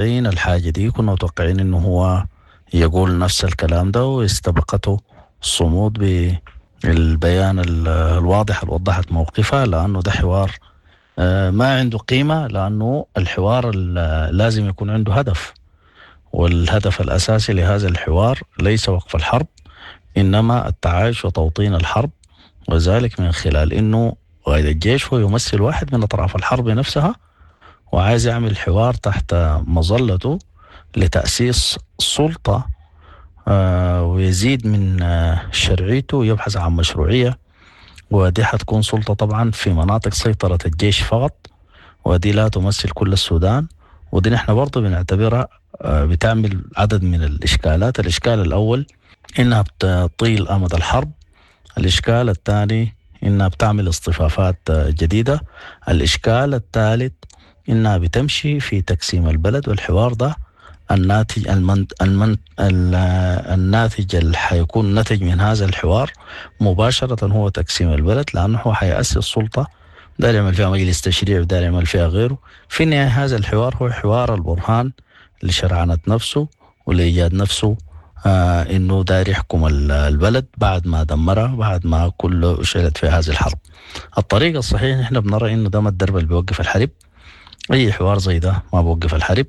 الحاجة دي، كنا متوقعين انه هو يقول نفس الكلام ده، واستبقته الصمود بالبيان الواضح اللي وضحت موقفها، لأنه ده حوار ما عنده قيمة، لأنه الحوار لازم يكون عنده هدف، والهدف الأساسي لهذا الحوار ليس وقف الحرب، إنما التعايش وتوطين الحرب، وذلك من خلال إنه قائد الجيش هو يمثل واحد من أطراف الحرب نفسها، وعايز يعمل حوار تحت مظلته لتأسيس سلطة ويزيد من شرعيته ويبحث عن مشروعية، ودي حتكون سلطة طبعا في مناطق سيطرة الجيش فقط، ودي لا تمثل كل السودان، ودي نحن برضو بنعتبرها بتعمل عدد من الإشكالات. الإشكال الأول إنها بتطيل أمد الحرب، الإشكال الثاني إنها بتعمل اصطفافات جديدة، الإشكال الثالث إنها بتمشي في تقسيم البلد، والحوار ده الناتج المن المن الناتج اللي حيكون نتج من هذا الحوار مباشرة هو تقسيم البلد، لأنه هو حيأسس سلطة داير يعمل فيها مجلس تشريع وداير يعمل فيها غيره. في النهاية هذا الحوار هو حوار البرهان لشرعنة نفسه ولإيجاد نفسه إنه داير يحكم البلد بعد ما دمرها، بعد ما كله شعلت في هذه الحرب. الطريقة الصحيحة نحن بنرى إنه ده ما الدرب اللي بيوقف الحرب، أي حوار زي ده ما بوقف الحرب.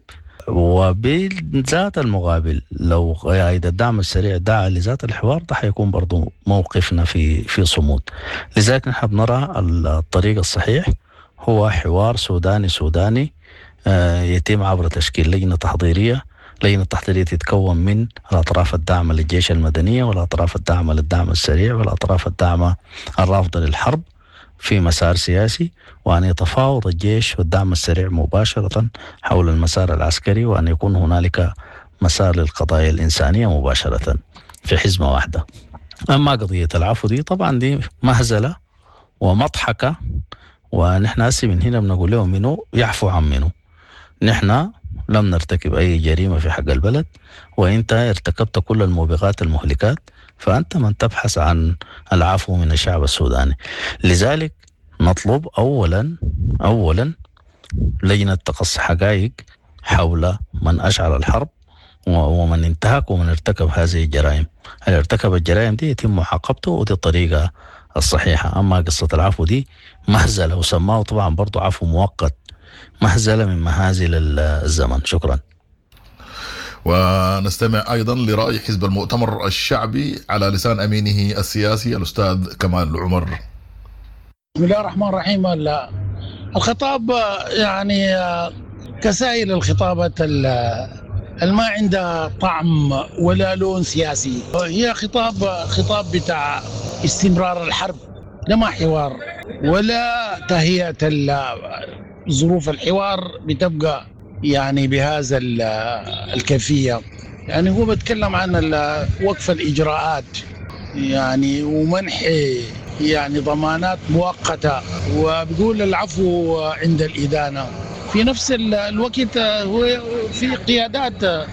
وبذات المقابل لو قائد الدعم السريع دعا لذات الحوار ده حيكون برضو موقفنا في صمود. لذلك نحن بنرى الطريق الصحيح هو حوار سوداني سوداني يتم عبر تشكيل لجنة تحضيرية. لجنة التحضيرية تتكون من الأطراف الداعمة للجيش المدنية والأطراف الداعمة للدعم السريع والأطراف الداعمة الرافضة للحرب في مسار سياسي، وأن يتفاوض الجيش والدعم السريع مباشرة حول المسار العسكري، وأن يكون هنالك مسار للقضايا الإنسانية مباشرة في حزمة واحدة. أما قضية العفو دي طبعا دي مهزلة ومضحكة، ونحن هسي من هنا بنقول لهم منو يعفو عن منو. نحن لم نرتكب أي جريمة في حق البلد، وإنت ارتكبت كل الموبقات المهلكات، فأنت من تبحث عن العفو من الشعب السوداني. لذلك نطلب أولا لجنة تقصي حقائق حول من أشعل الحرب ومن انتهك ومن ارتكب هذه الجرائم. اللي ارتكب الجرائم دي يتم معاقبته، ودي الطريقة الصحيحة. أما قصة العفو دي مهزلة، وسماه طبعا برضو عفو مؤقت، مهزلة من مهازل الزمن. شكرا. ونستمع أيضا لرأي حزب المؤتمر الشعبي على لسان أمينه السياسي الأستاذ كمال عمر. بسم الله الرحمن الرحيم. الخطاب يعني كسائر الخطابات ما عندها طعم ولا لون سياسي، هي خطاب بتاع استمرار الحرب، لا ما حوار ولا تهيئة ظروف الحوار بتبقى يعني بهذا الكيفية. يعني هو بيتكلم عن وقف الإجراءات يعني ومنح يعني ضمانات مؤقتة، وبيقول العفو عند الإدانة. في نفس الوقت هو في قيادات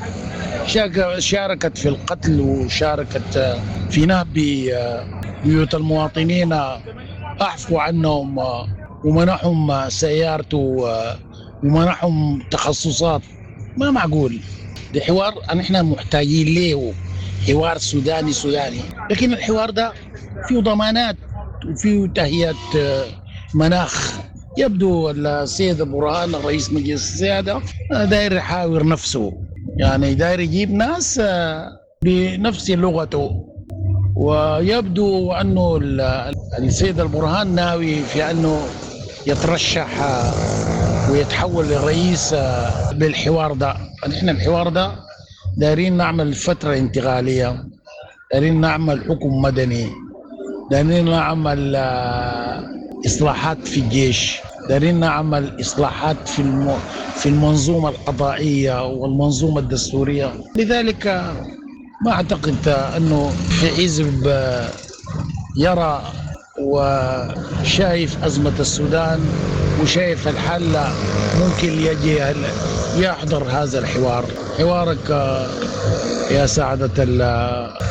شاركت في القتل وشاركت في نهب بيوت المواطنين، أعفوا عنهم ومنحهم سيارته ومنحهم تخصصات. ما معقول، ده حوار نحن محتاجين له، حوار سوداني سوداني، لكن الحوار ده فيه ضمانات وفيه تهيئة مناخ. يبدو السيد برهان رئيس مجلس السيادة داير يحاور نفسه، يعني داير يجيب ناس بنفس لغته، ويبدو أنه السيد البرهان ناوي في أنه يترشح ويتحول لرئيس بالحوار ده. نحن الحوار ده دايرين نعمل فترة انتقالية، دايرين نعمل حكم مدني، دايرين نعمل إصلاحات في الجيش، دايرين نعمل إصلاحات في المنظومة القضائية والمنظومة الدستورية. لذلك ما أعتقد أنه في حزب يرى وشايف أزمة السودان وشايف الحل ممكن يجي يحضر هذا الحوار. حوارك يا سعادة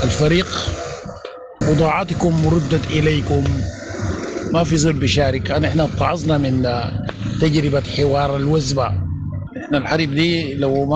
الفريق، بضاعتكم ردت إليكم، ما في زول بيشارك. نحن اتعظنا من تجربة حوار الوزبة. نحن الحرب دي لو ما